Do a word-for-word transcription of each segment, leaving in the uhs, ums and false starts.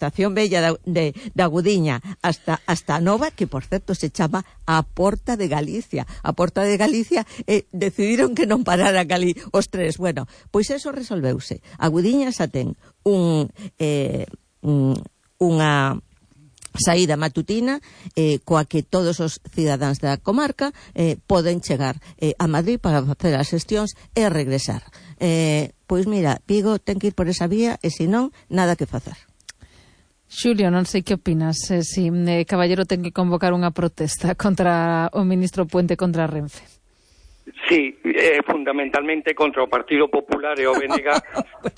estación bella da, de, da Gudiña hasta, hasta a nova, que por certo se chama a Porta de Galicia. A Porta de Galicia eh, decidiron que non pararan ali os tres. Bueno, pois eso resolveuse. A Gudiña xa ten un, eh, un, unha saída matutina eh, coa que todos os cidadáns da comarca eh, poden chegar eh, a Madrid para facer as xestións e regresar. Eh, pois mira, Vigo ten que ir por esa vía e se non, nada que facer. Xulio, non sei que opinas, eh, si eh, Caballero ten que convocar unha protesta contra o ministro Puente contra Renfe. Sí, eh, fundamentalmente contra o Partido Popular e o B N G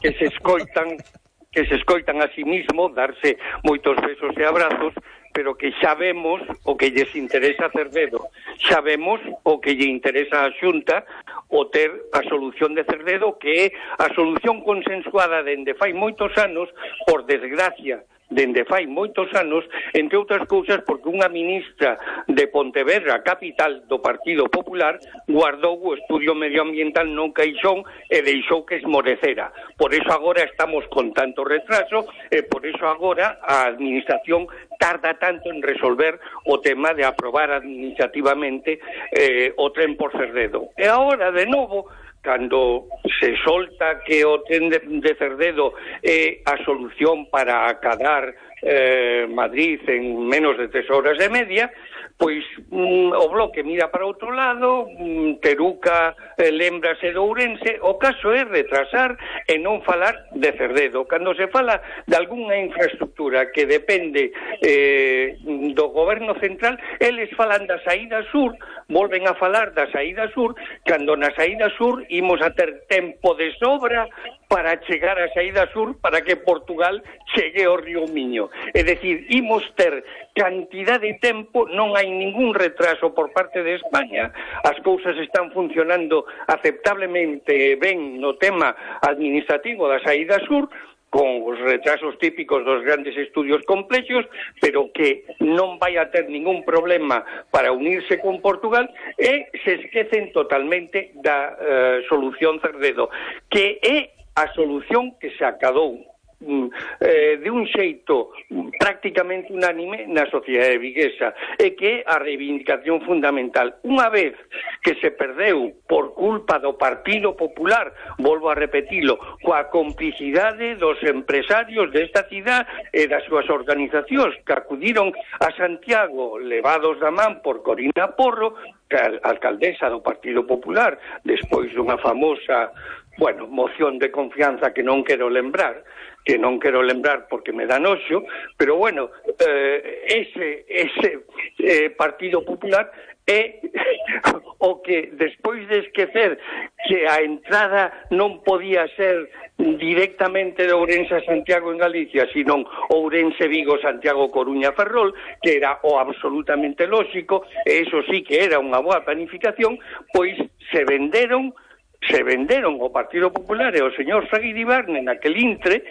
que se escoitan que se escoitan a sí mismo darse moitos besos e abrazos, pero que xa vemos o que lles interesa a Cerdedo, xa vemos o que lle interesa a Xunta o ter a solución de Cerdedo, que é a solución consensuada dende fai moitos anos, por desgracia, dende fai moitos anos, entre outras cousas porque unha ministra de Pontevedra, capital do Partido Popular, guardou o estudio medioambiental non caixón e deixou que esmorecera. Por eso agora estamos con tanto retraso e por eso agora a administración tarda tanto en resolver o tema de aprobar administrativamente eh, o tren por Cerdedo. E agora, de novo, cando se solta que o tren de, de Cerdedo é a solución para acadar eh, Madrid en menos de tres horas e media, pois mm, o Bloque mira para outro lado, mm, Teruca eh, lembrase de Ourense, o caso é retrasar e non falar de Cerdedo. Cando se fala de algunha infraestructura que depende eh, do goberno central, eles falan da saída sur, volven a falar da saída sur, cando na saída sur imos a ter tempo de sobra para chegar á saída sur para que Portugal chegue ao río Miño. É dicir, imos ter cantidad de tempo, non hai ningún retraso por parte de España, as cousas están funcionando aceptablemente ben no tema administrativo da saída sur, con os retrasos típicos dos grandes estudios complexos, pero que non vai a ter ningún problema para unirse con Portugal, e se esquecen totalmente da uh, solución Cerdedo, que é a solución que se acadou eh, de un xeito prácticamente unánime na sociedade viguesa, e que é a reivindicación fundamental. Unha vez que se perdeu por culpa do Partido Popular, volvo a repetilo, coa complicidade dos empresarios desta cidade e das súas organizacións que acudiron a Santiago levados da man por Corina Porro, que é a alcaldesa do Partido Popular, despois dunha famosa bueno, moción de confianza que non quero lembrar, que non quero lembrar porque me dá noxo, pero bueno, eh, ese, ese eh, Partido Popular é o que, despois de esquecer que a entrada non podía ser directamente de Ourense a Santiago en Galicia, sino Ourense, Vigo, Santiago, Coruña, Ferrol, que era o absolutamente lóxico, e eso sí que era unha boa planificación, pois se venderon se venderon o Partido Popular e o señor Saguidibarne naquel intre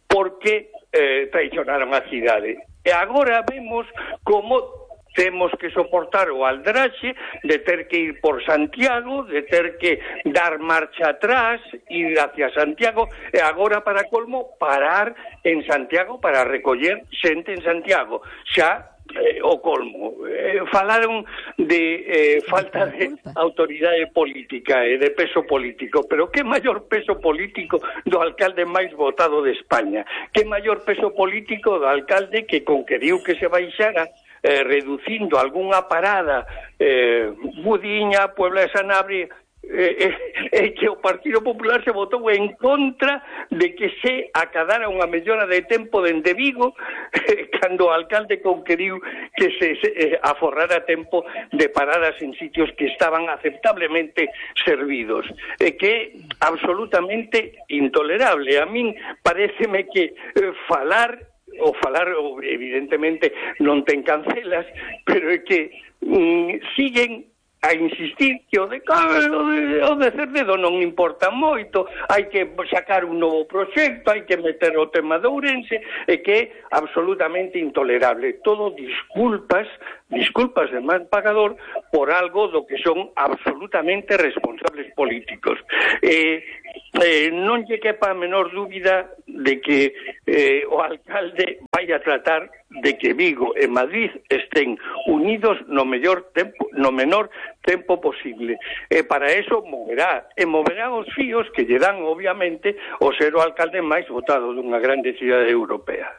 porque eh, traicionaron a cidade. E agora vemos como temos que soportar o aldraxe de ter que ir por Santiago, de ter que dar marcha atrás, ir hacia Santiago, e agora, para colmo, parar en Santiago para recoller xente en Santiago. Xa Eh, o colmo. Eh, falaron de eh, falta de autoridade política e eh, de peso político, pero que maior peso político do alcalde máis votado de España, que maior peso político do alcalde que conqueriu que se baixara eh, reducindo algunha parada eh, Budiña, Puebla de Sanabria, Eh, eh, que o Partido Popular se votou en contra de que se acadara unha mellora de tempo dende Vigo eh, cando o alcalde conqueriu que se, se eh, aforrara tempo de paradas en sitios que estaban aceptablemente servidos, e eh, que é absolutamente intolerable. A min paréceme que eh, falar o falar evidentemente non ten cancelas, pero é que mm, siguen a insistir que o de, o de Cerdedo non importa moito, hai que sacar un novo proxecto, hai que meter o tema de Ourense, e que é absolutamente intolerable. Todo disculpas, disculpas de mal pagador por algo do que son absolutamente responsables políticos. Eh, eh, non lle quepa a menor dúbida de que eh, o alcalde vai a tratar de que Vigo e Madrid estén unidos no mellor tempo, no menor tempo posible. E para eso moverá, e moverá os fíos que lle dan, obviamente, o ser o alcalde máis votado dunha grande cidade europea.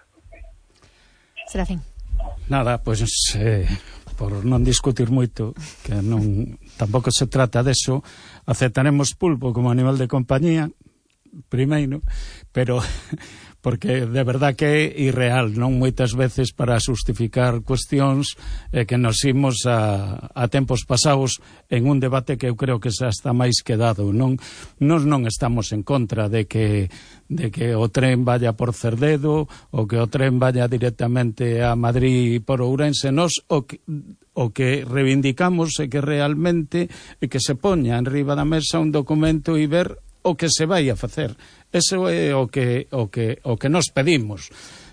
Serafín. Nada, pois eh, por non discutir moito, que non tampouco se trata deso, aceptaremos pulpo como animal de compañía primeiro, pero porque de verdad que é irreal, non moitas veces para justificar cuestións eh, que nos imos a, a tempos pasados en un debate que eu creo que xa está máis quedado. Non, nos non estamos en contra de que de que o tren vaya por Cerdedo ou que o tren vaya directamente a Madrid por Ourense. Nos o que, o que reivindicamos é que realmente é que se poña en riba da mesa un documento e ver o que se vai a facer. Eso é o que o que o que nos pedimos.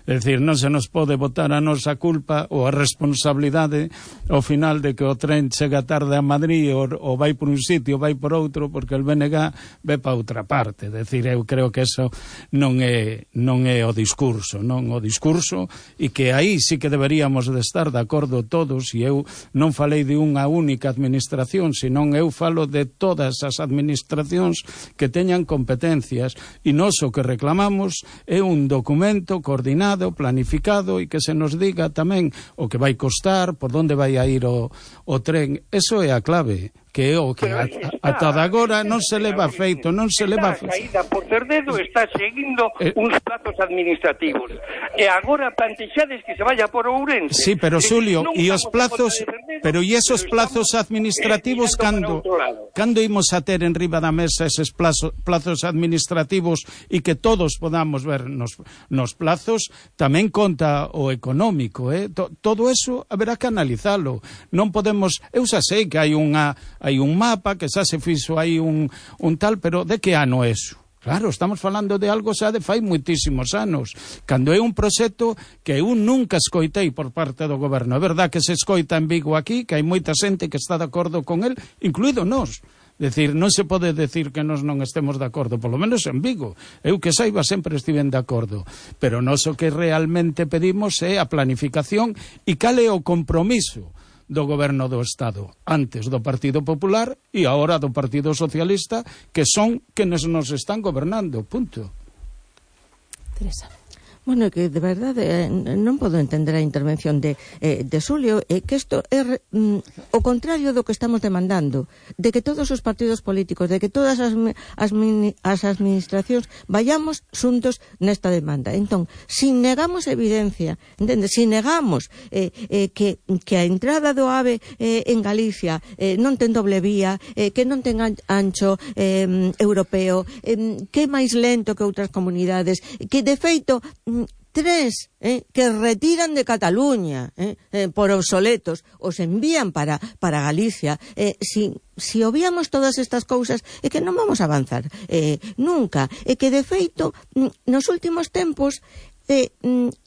É dicir, non se nos pode botar a nosa culpa ou a responsabilidade ao final de que o tren chega tarde a Madrid ou, ou vai por un sitio ou vai por outro porque el B N G ve para outra parte. É dicir, eu creo que eso non é non é o discurso, non o discurso, e que aí sí que deberíamos de estar de acordo todos, e eu non falei de unha única administración, senón eu falo de todas as administracións que teñan competencias, e nós o que reclamamos é un documento coordinado, planificado, e que se nos diga tamén o que vai costar, por onde vai a ir o, o tren. Eso é a clave, que é o que ata agora non se leva feito, non se leva feito. A saída por Cerdedo está seguindo eh, uns plazos administrativos. E agora plantexades que se vaya por Ourense. Sí, pero Xulio, e os plazos, pero e esos plazos administrativos cando cando imos a ter en riba da mesa eses plazos, plazos administrativos e que todos podamos ver nos, nos plazos, tamén conta o económico, eh? Todo eso haberá que analizalo. Non podemos, eu xa sei que hai unha hai un mapa, que xa se fixo aí un, un tal, pero de que ano é eso? Claro, estamos falando de algo xa de fai moitísimos anos, cando é un proxecto que eu nunca escoitei por parte do goberno. É verdad que se escoita en Vigo aquí, que hai moita xente que está de acordo con el, incluído nós. Decir, non se pode decir que nós non estemos de acordo, polo menos en Vigo. Eu que saiba sempre estiven de acordo. Pero nós o que realmente pedimos é a planificación e cal é o compromiso do goberno do Estado, antes do Partido Popular e agora do Partido Socialista, que son quenes nos están gobernando, punto. Teresa. Bueno, que de verdade eh, non podo entender a intervención de, eh, de Xulio, eh, que isto é mm, o contrario do que estamos demandando, de que todos os partidos políticos, de que todas as, as, as administracións vayamos xuntos nesta demanda. Entón, si negamos evidencia, entende? Si negamos eh, eh, que, que a entrada do AVE eh, en Galicia eh, non ten doble vía, eh, que non ten ancho eh, europeo, eh, que é máis lento que outras comunidades, que de feito tres eh, que retiran de Cataluña eh, eh, por obsoletos, os envían para, para Galicia. Eh, si, si obviamos todas estas cousas, é que non vamos a avanzar eh, nunca. É que, de feito, nos últimos tempos Eh,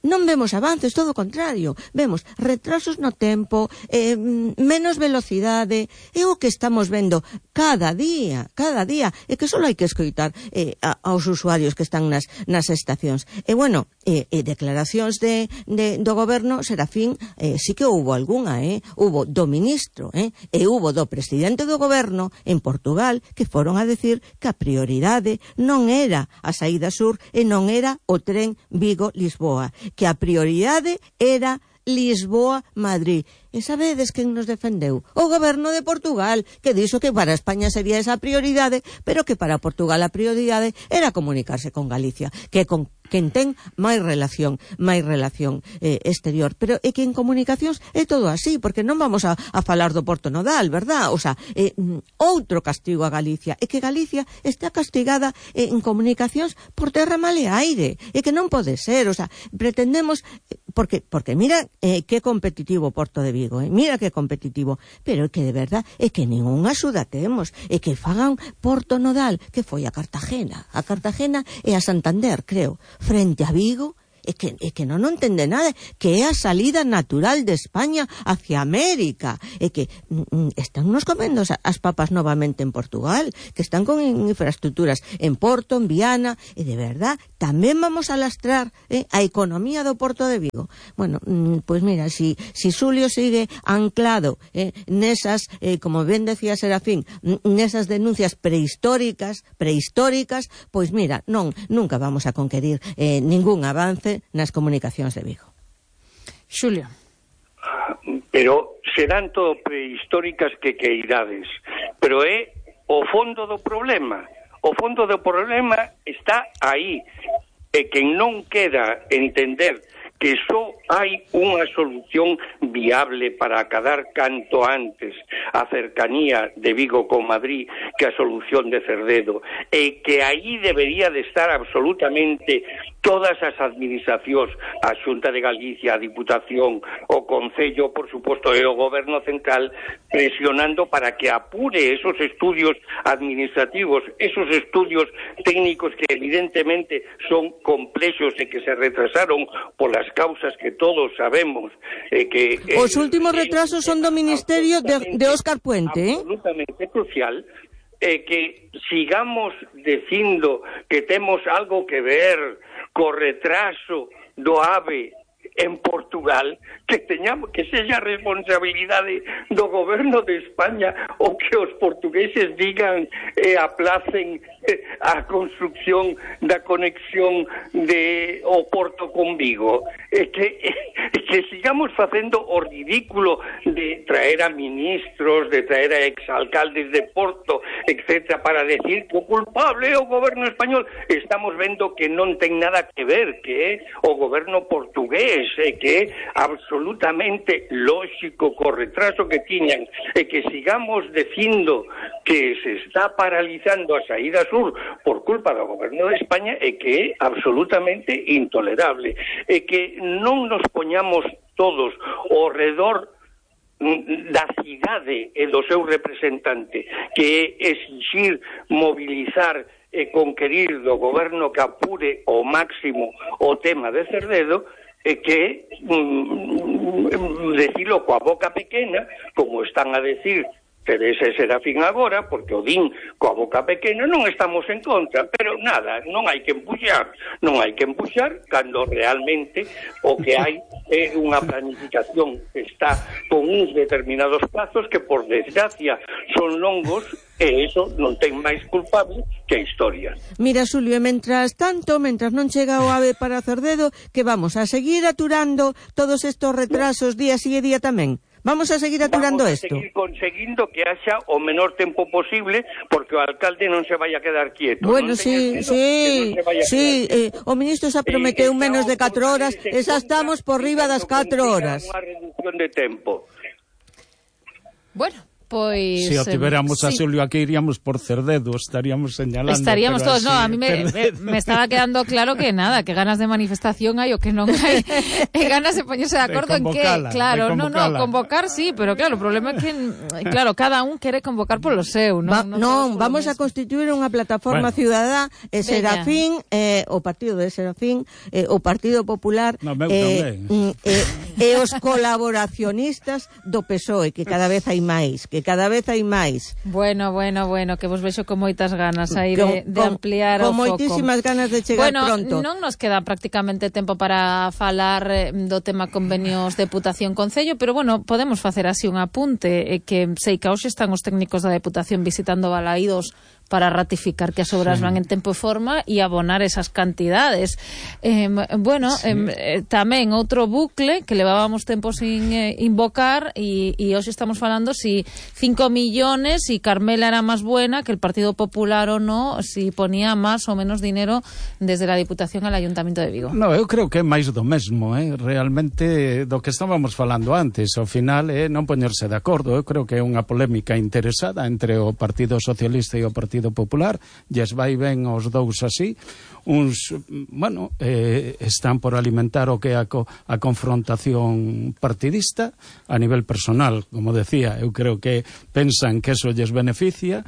non vemos avances, todo o contrario, vemos retrasos no tempo, eh, menos velocidade, é o que estamos vendo cada día, cada día, é que só hai que escoitar eh, a, aos usuarios que están nas, nas estacións. E bueno, eh, eh, declaracións de, de, do goberno, Serafín, eh, sí que houbo algunha, eh? Hubo do ministro, eh? e hubo do presidente do goberno en Portugal, que foron a decir que a prioridade non era a saída sur e non era o tren Vigo-Lisboa, que a prioridade era Lisboa-Madrid. E sabedes quen nos defendeu? O goberno de Portugal, que dixo que para España sería esa prioridade, pero que para Portugal a prioridade era comunicarse con Galicia, que con quen ten máis relación, máis relación eh, exterior. Pero é que en comunicacións é todo así, porque non vamos a, a falar do Porto Nodal, verdad? O sea, eh, outro castigo a Galicia, é que Galicia está castigada eh, en comunicacións por terra, mar e aire, é que non pode ser, o sea, pretendemos porque porque mira eh, que competitivo Porto de Vigo, eh, mira que competitivo, pero é que de verdad é que ningunha axuda temos, é que fagan Porto Nodal, que foi a Cartagena, a Cartagena e a Santander, creo, frente a Vigo. É que, é que non, non entende nada, que é a salida natural de España hacia América, é que mm, están nos comendo as papas novamente en Portugal, que están con infraestructuras en Porto, en Viana, e de verdad tamén vamos a lastrar eh, a economía do Porto de Vigo. Bueno, mm, pois mira, si, si Xulio sigue anclado eh, nesas, eh, como ben decía Serafín, nesas denuncias prehistóricas, prehistóricas, pois mira, non, nunca vamos a conquerir eh, ningún avance nas comunicacións de Vigo. Xulio. Pero serán todo prehistóricas que queirades, pero é o fondo do problema. O fondo do problema está aí, e quen non queda entender que só hai unha solución viable para acadar canto antes a cercanía de Vigo con Madrid que a solución de Cerdedo, e que aí debería de estar absolutamente todas as administracións, a Xunta de Galicia, a Diputación, o Concello, por suposto, e o Goberno Central, presionando para que apure esos estudios administrativos, esos estudios técnicos que evidentemente son complexos e que se retrasaron polas causas que todos sabemos. Eh, que eh, Os últimos retrasos son do Ministerio de, de Óscar Puente, eh? Absolutamente crucial. Eh, que sigamos dicindo que temos algo que ver co retraso do AVE en Portugal, que teñamos que sexa responsabilidade do goberno de España o que os portugueses digan e eh, aplacen eh, a construcción da conexión de o Porto con Vigo, e eh, que, eh, que sigamos facendo o ridículo de traer a ministros, de traer a exalcaldes de Porto, etcétera, para decir que o culpable é o goberno español. Estamos vendo que non ten nada que ver, que é o goberno portugués, e que é absolutamente lógico co retraso que tiñan, e que sigamos dicindo que se está paralizando a saída sur por culpa do goberno de España, e que é absolutamente intolerable, e que non nos poñamos todos ao redor da cidade e do seu representante, que é exigir, mobilizar e conquerir do goberno que apure ao máximo o tema de Cerdedo, e que mm, decilo coa boca pequena, como están a decir Teresa e Serafín agora, porque o din coa boca pequena. Non estamos en contra, pero nada, non hai que empuxar, non hai que empuxar cando realmente o que hai é unha planificación que está con uns determinados plazos que, por desgracia, son longos, e eso non ten máis culpable que a historia. Mira, Xulio, e mentras tanto, mentras non chega o AVE para Cerdedo, que vamos a seguir aturando todos estos retrasos día sí e día tamén. Vamos a seguir aturando isto. Vamos a seguir conseguindo que haxa o menor tempo posible, porque o alcalde non se vai a quedar quieto. Bueno, sí, sí, sí, eh, o ministro xa prometeu eh, menos de catro horas, e xa estamos por riba das catro horas. Unha reducción de tempo. Bueno, pois... Se si o tiveramos eh, a Xulio aquí, iríamos por Cerdedo, estaríamos señalando. Estaríamos todos, así, no, a mí me, me, me estaba quedando claro que nada, que ganas de manifestación hai o que non hai, e ganas de poñerse de acordo de en que, claro, no, no, convocar sí, pero claro, o problema é que, claro, cada un quere convocar polo seu, non? Va, non, non vamos a constituir unha plataforma bueno. ciudadá, e Serafín, eh, o partido de Serafín, eh, o Partido Popular, no, meu, eh, no, eh, e os colaboracionistas do P S O E, que cada vez hai máis, que cada vez hai máis. Bueno, bueno, bueno, que vos vexo con moitas ganas aí de, de con, ampliar con o foco. Con moitísimas ganas de chegar bueno, pronto. Non nos queda prácticamente tempo para falar do tema convenios Deputación-Concello, pero bueno, podemos facer así un apunte, eh, que sei que hoxe están os técnicos da Deputación visitando Balaídos para ratificar que as obras sí. van en tempo e forma e abonar esas cantidades. Eh, bueno, sí. eh, tamén outro bucle que levábamos tempo sin eh, invocar, e, e hoxe estamos falando si cinco millones, si Carmela era máis buena que el Partido Popular ou no, si ponía máis ou menos dinero desde la Diputación al Ayuntamiento de Vigo. No, eu creo que é máis do mesmo, eh? Realmente do que estábamos falando antes. Ao final é eh, non poñerse de acordo. Eu creo que é unha polémica interesada entre o Partido Socialista e o Partido Partido Popular, lles vai ben aos dous así. Uns, bueno, eh, están por alimentar o que é a, co, a confrontación partidista a nivel personal, como decía, eu creo que pensan que eso lles beneficia.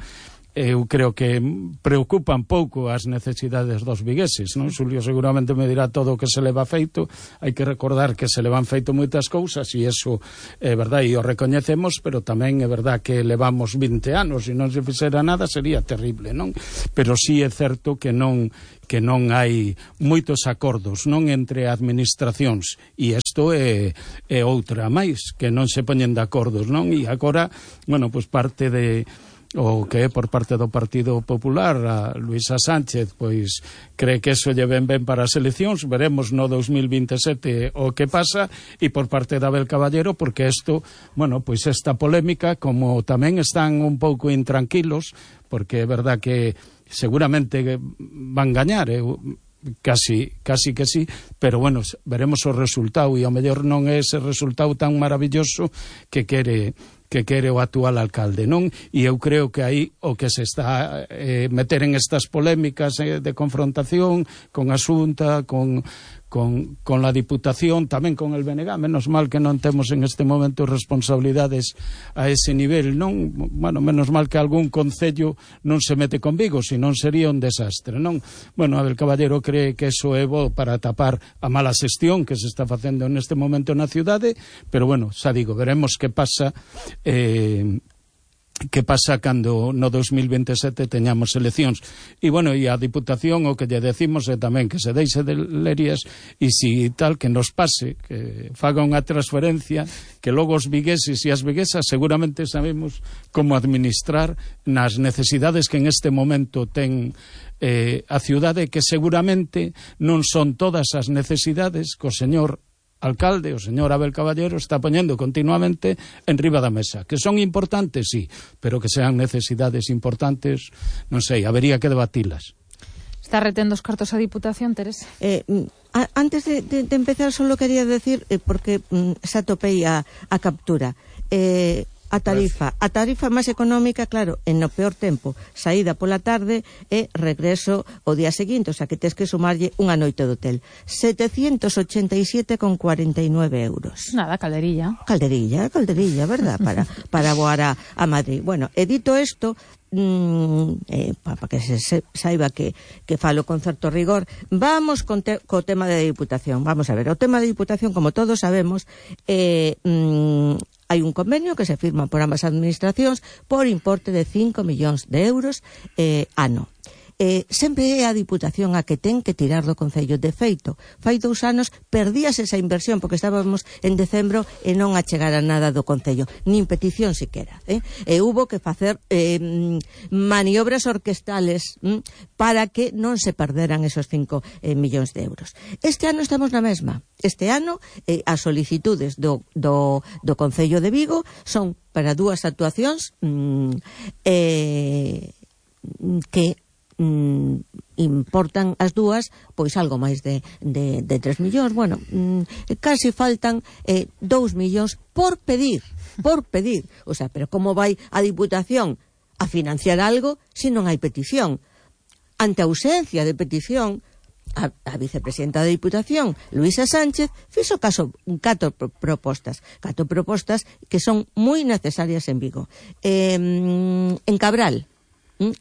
Eu creo que preocupan pouco as necesidades dos vigueses, non? Xulio seguramente me dirá todo o que se leva feito. Hai que recordar que se levan feito moitas cousas e iso é verdade e o recoñecemos, pero tamén é verdade que levamos vinte anos e non se fixera nada sería terrible, non? Pero sí é certo que non que non hai moitos acordos, non, entre administracións, e isto é, é outra máis, que non se poñen de acordos, non? E agora, bueno, pois parte de o que é por parte do Partido Popular, a Luisa Sánchez, pois cree que eso lle ven ben para as eleccións, veremos no dos mil vinte e sete o que pasa, e por parte de Abel Caballero, porque isto, bueno, pois esta polémica, como tamén están un pouco intranquilos, porque é verdad que seguramente van gañar, eu casi, casi que sí, pero bueno, veremos o resultado, e ao mellor non é ese resultado tan maravilloso que quere que quere o actual alcalde, non? E eu creo que aí o que se está eh, meter en estas polémicas eh, de confrontación con a Xunta, con, con, con la Diputación, tamén con el B N G, menos mal que non temos en este momento responsabilidades a ese nivel, non? Bueno, menos mal que algún concello non se mete con Vigo, senón sería un desastre, non? Bueno, Abel Caballero cree que eso é bo para tapar a mala xestión que se está facendo neste momento na cidade, pero bueno, xa digo, veremos que pasa Eh, que pasa cando no dos mil vinte e sete teñamos eleccións. E bueno, e a Diputación o que lle decimos é tamén que se deixe de lerias e si tal que nos pase, que faga unha transferencia, que logo os vigueses e as viguesas seguramente sabemos como administrar nas necesidades que en este momento ten eh, a ciudade, que seguramente non son todas as necesidades que o señor alcalde, o señor Abel Caballero, está poñendo continuamente en riba da mesa. Que son importantes, sí, pero que sean necesidades importantes, non sei, habería que debatilas. Está retendo os cartos a Diputación, Teresa? Eh, a, antes de, de, de empezar, solo quería decir, eh, porque mm, xa topei a, a captura, eh, a tarifa, a tarifa máis económica, claro, en no peor tempo, saída pola tarde e regreso o día seguinte, o sea que tes que sumarlle unha noite de hotel. setecentos ochenta e sete con cuarenta e nueve euros. Nada, calderilla. Calderilla, calderilla, verdad, para, para voar a, a Madrid. Bueno, he dito isto, mm, eh, para pa que se, se saiba que, que falo con certo rigor, vamos con te, co tema de Diputación. Vamos a ver, o tema de Diputación, como todos sabemos, eh, mm, hai un convenio que se firma por ambas administracións por importe de cinco millóns de euros eh, ano. Eh, sempre é a Diputación a que ten que tirar do Concello. De feito, fai dous anos perdíase esa inversión porque estábamos en decembro e non achegara nada do Concello, nin petición siquera, eh? E hubo que facer eh, maniobras orquestales mm, para que non se perderan esos cinco eh, millóns de euros. Este ano estamos na mesma. Este ano eh, as solicitudes do, do, do Concello de Vigo son para dúas actuacións mm, eh, que Mm, importan as dúas pois algo máis de, de, de tres millóns. Bueno, mm, casi faltan eh, dous millóns por pedir, por pedir. O sea, pero como vai a Diputación a financiar algo se non hai petición? Ante a ausencia de petición, a, a vicepresidenta da Diputación, Luisa Sánchez, fixo caso catro pro, propostas, catro propostas que son moi necesarias en Vigo. Eh, en Cabral,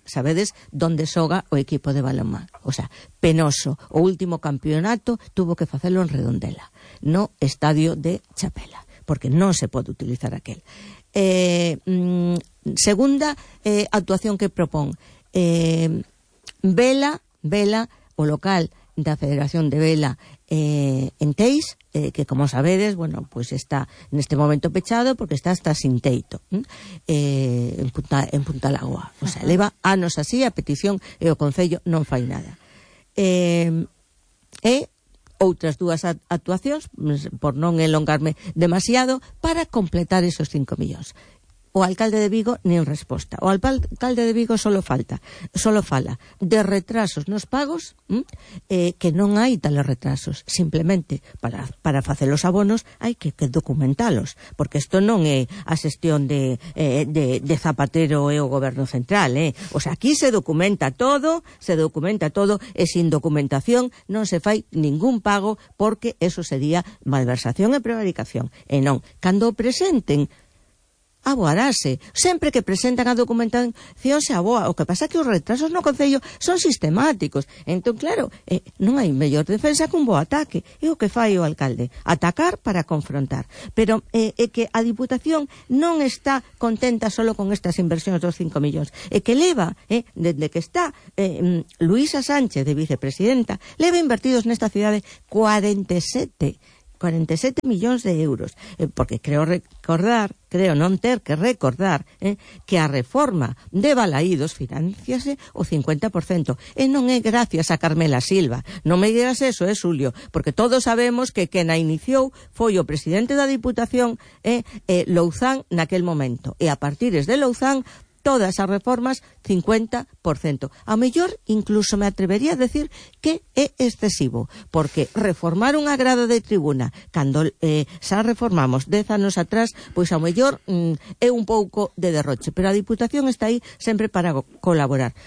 sabedes donde xoga o equipo de balonmán, o sea, penoso, o último campeonato tuvo que facelo en Redondela, no estadio de Chapela, porque non se pode utilizar aquel. Eh, mm, segunda eh, actuación que propón, eh, vela, vela, o local da Federación de Vela eh, en Teis, eh, que como sabedes, bueno, pues está neste momento pechado porque está hasta sin teito, eh, en Punta, en Punta Lagua. O sea, leva anos así a petición e o Concello non fai nada. Eh, e outras dúas actuacións, por non elongarme demasiado, para completar esos cinco millóns. o alcalde de Vigo nin resposta. O alcalde de Vigo solo falta, solo fala de retrasos nos pagos, hm? eh, que non hai tales retrasos. Simplemente, para, para facer os abonos, hai que, que documentalos, porque isto non é a xestión de, eh, de, de Zapatero e o goberno central, eh? O sea, aquí se documenta todo, se documenta todo, e sin documentación non se fai ningún pago, porque eso sería malversación e prevaricación. E non, cando o presenten, aboarase. Sempre que presentan a documentación se aboa. O que pasa é que os retrasos no Concello son sistemáticos. Entón, claro, eh, non hai mellor defensa que un bo ataque. É o que fai o alcalde. Atacar para confrontar. Pero é eh, eh, que a Diputación non está contenta solo con estas inversións dos cinco millóns. É que leva, eh, desde que está eh, Luísa Sánchez de vicepresidenta, leva invertidos nesta cidade cuarenta e sete millóns de euros, eh, porque creo recordar, creo non ter que recordar eh, que a reforma de Balaídos financiase o cincuenta por cento, e non é gracias a Carmela Silva. Non me digas eso, é eh, Xulio, porque todos sabemos que quen a iniciou foi o presidente da Diputación, eh, eh, Louzán, naquel momento, e a partires de Louzán todas as reformas cincuenta por cento. A mellor incluso me atrevería a decir que é excesivo, porque reformar unha grada de tribuna cando eh, xa reformamos dez anos atrás, pois a mellor mm, é un pouco de derroche, pero a Diputación está aí sempre para colaborar.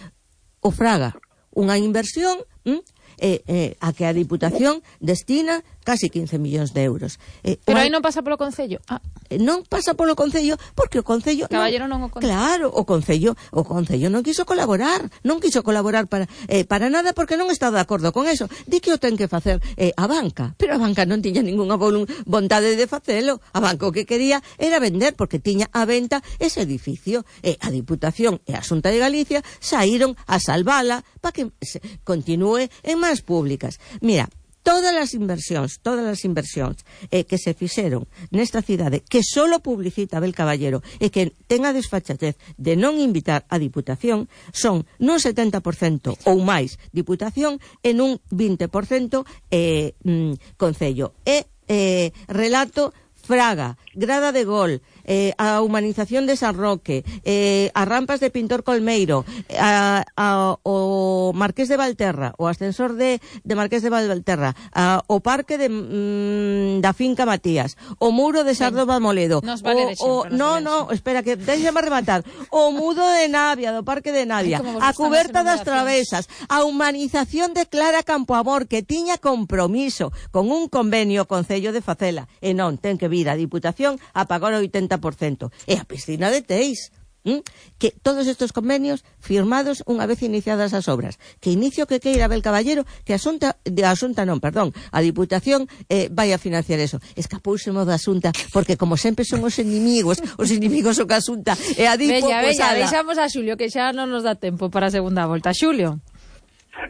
O Fraga, unha inversión mm, eh, eh, a que a Diputación destina casi quince millóns de euros. Eh, Pero aí non pasa polo Concello. Ah. Non pasa polo Concello porque o Concello... Caballero non, non o Concello. Claro, o Concello, o Concello non quiso colaborar, non quiso colaborar para eh, para nada porque non está de acordo con eso. Di que o ten que facer eh, a banca, pero a banca non tiña ninguna vontade de facelo. A banca o que quería era vender porque tiña a venta ese edificio. E a Diputación e a Xunta de Galicia saíron a salvala para que se continúe en máis públicas. Mira, todas as inversións, todas as inversións eh, que se fixeron nesta cidade, que solo publicita Abel Caballero e que ten a desfachatez de non invitar a Diputación, son nun setenta por cento ou máis Diputación e nun vinte por cento eh, mm, Concello. E eh, relato Fraga, Grada de Gol, eh, a humanización de San Roque, eh, as rampas de Pintor Colmeiro, a, a, o Marqués de Valterra, o ascensor de, de Marqués de Valterra, a, o parque de, mm, da finca Matías, o muro de Sardo Balmoledo, nos vale de o, o, no, no, espera, que déxame rematar, o mudo de Navia, do parque de Navia, a cuberta das travesas, a humanización de Clara Campoamor, que tiña compromiso con un convenio Concello de facela, e non, ten que vir a Diputación a pagar o oitenta por cento. E a piscina de Teis. ¿Mm? Que todos estos convenios firmados unha vez iniciadas as obras. Que inicio que queira Abel Caballero, que a Xunta, de a Xunta non, perdón, a Diputación eh, vai a financiar eso. Escapousemo da Xunta, porque como sempre son os inimigos, os inimigos son a Xunta e a Dipo, bella, pues, bella, deixamos a Xulio, que xa non nos dá tempo para a segunda volta. Xulio.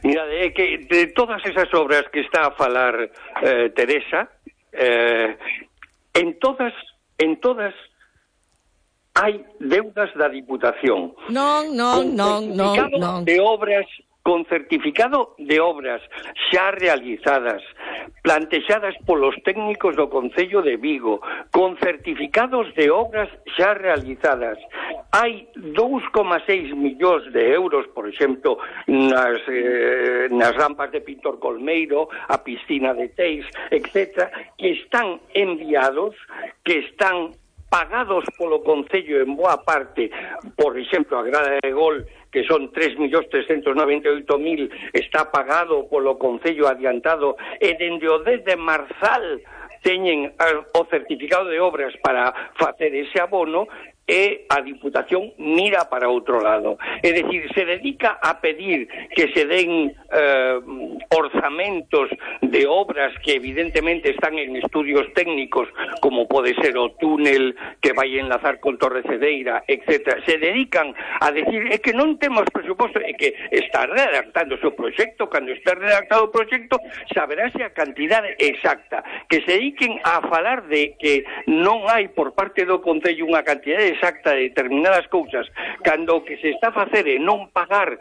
Mira, é que de todas esas obras que está a falar eh, Teresa, eh, en todas, en todas hai deudas da Diputación. Non, non, non, non, non. De obras, con certificado de obras xa realizadas, plantexadas polos técnicos do Concello de Vigo, con certificados de obras xa realizadas. Hai dous coma seis millóns de euros, por exemplo, nas, eh, nas rampas de Pintor Colmeiro, a piscina de Teis, etcétera, que están enviados, que están pagados polo Concello en boa parte. Por exemplo, a Grada de Gol, que son tres millóns trescentos noventa e oito mil, está pagado polo Concello adiantado, e dende o dez de Marzal teñen o certificado de obras para facer ese abono, e a Diputación mira para outro lado. É dicir, se dedica a pedir que se den eh, orzamentos de obras que evidentemente están en estudios técnicos, como pode ser o túnel que vai enlazar con Torre Cedeira, etcétera. Se dedican a decir, é que non temos presuposto, é que está redactando o seu proxecto, cando está redactado o proxecto saberase a cantidade exacta. Que se dediquen a falar de que non hai por parte do Concello unha cantidade exacta de determinadas cousas, cando o que se está a facer é non pagar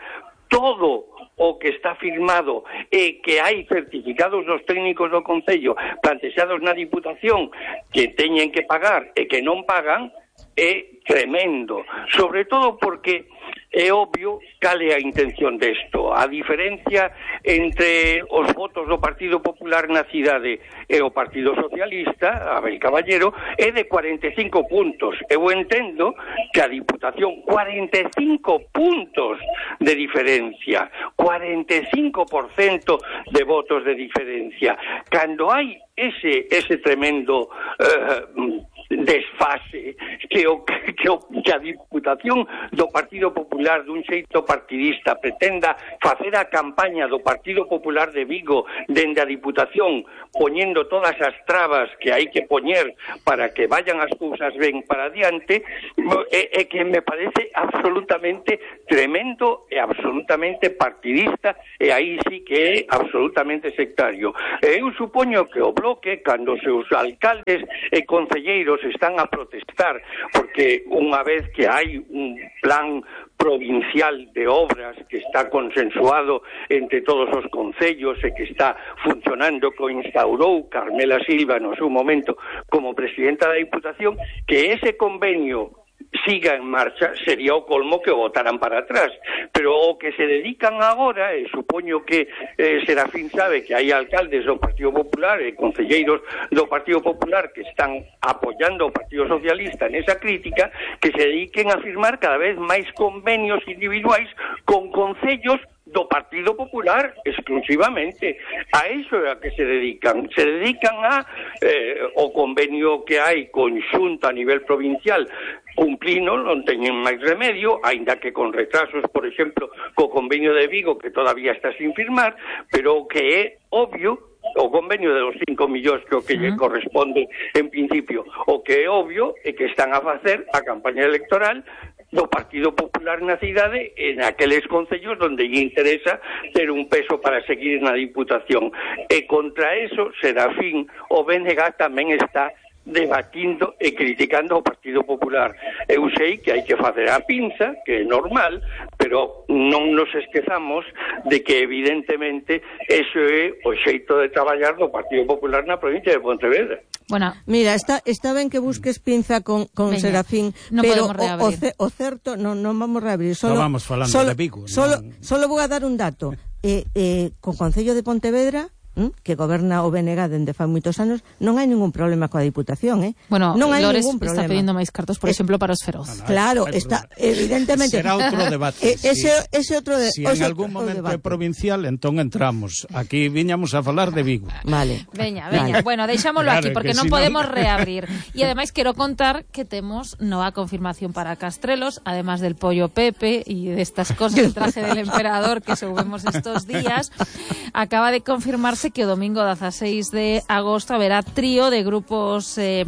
todo o que está firmado e que hai certificados dos técnicos do Concello plantexados na Diputación que teñen que pagar e que non pagan, é tremendo, sobre todo porque é obvio cal é a intención desto. A diferencia entre os votos do Partido Popular na cidade e o Partido Socialista, Abel Caballero, é de cuarenta e cinco puntos. Eu entendo que a Diputación, cuarenta e cinco puntos de diferencia, cuarenta e cinco por cento de votos de diferencia. Cando hai ese ese tremendo uh, desfase que o, que o que a Diputación do Partido Popular dun xeito partidista pretenda facer a campaña do Partido Popular de Vigo dende a Diputación poñendo todas as trabas que hai que poñer para que vayan as cousas ben para adiante, é, é que me parece absolutamente tremendo e absolutamente partidista, e aí sí que é absolutamente sectario. Eu supoño que o Bloque, cando os seus alcaldes e concelleiros están a protestar porque unha vez que hai un plan provincial de obras que está consensuado entre todos os concellos e que está funcionando, que o instaurou Carmela Silva no seu momento como presidenta da Diputación, que ese convenio siga en marcha, sería o colmo que o botaran para atrás. Pero o que se dedican agora, e supoño que eh, Serafín sabe que hai alcaldes do Partido Popular e concelleiros do Partido Popular que están apoyando o Partido Socialista nesa crítica, que se dediquen a firmar cada vez máis convenios individuais con concellos do Partido Popular exclusivamente. A iso é a que se dedican. Se dedican a eh, o convenio que hai conxunto a nivel provincial cumplino, non teñen máis remedio, aínda que con retrasos, por exemplo, co convenio de Vigo, que todavía está sin firmar, pero o que é obvio, o convenio de los cinco millóns que o que lle corresponde en principio, o que é obvio é que están a facer a campaña electoral do Partido Popular na cidade en aqueles concellos onde lle interesa ter un peso para seguir na Diputación. E contra eso, Serafín, o B N G tamén está debatindo e criticando o Partido Popular. Eu sei que hai que facer a pinza, que é normal, pero non nos esquezamos de que evidentemente eso é o xeito de traballar do Partido Popular na provincia de Pontevedra. Bueno, mira, está, está ben que busques pinza con, con Veña, Serafín, no pero o, o, o certo, non no vamos a reabrir. Solo, no vamos falando solo, de Vigo. Solo, non... solo vou a dar un dato. Eh, eh, con Concello de Pontevedra, que goberna o B N G dende fai moitos anos, non hai ningún problema coa Diputación, eh? Bueno, non hai Lores ningún problema. Está pedindo máis cartos, por es, exemplo, para os feroz. No, no, claro, está evidentemente. Será outro debate. Eh, ese, si, ese outro de, si en algún momento debate. É provincial, entón entramos. Aquí viñamos a falar de Vigo. Vale. Veña, veña. Vale. Bueno, deixámoslo claro, aquí porque non si podemos no... reabrir. E ademais quero contar que temos nova confirmación para Castrelos, además del pollo Pepe e destas cosas, el traje del emperador que subimos estos días. Acaba de confirmarse que o domingo seis de agosto haberá trío de grupos eh,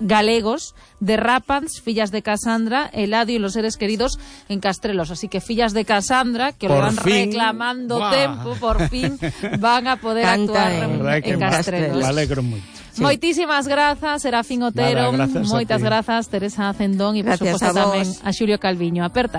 galegos de Rapans, Fillas de Casandra, Eladio y los seres queridos en Castrelos. Así que Fillas de Casandra, que por lo van fin, reclamando wow. tempo, por fin van a poder Canta actuar en, en Castrelos. Me alegro moito. Sí. Moitísimas grazas, Serafín Otero, moitas grazas, Teresa Cendón e por suposto tamén a Xulio Calviño. Aperta.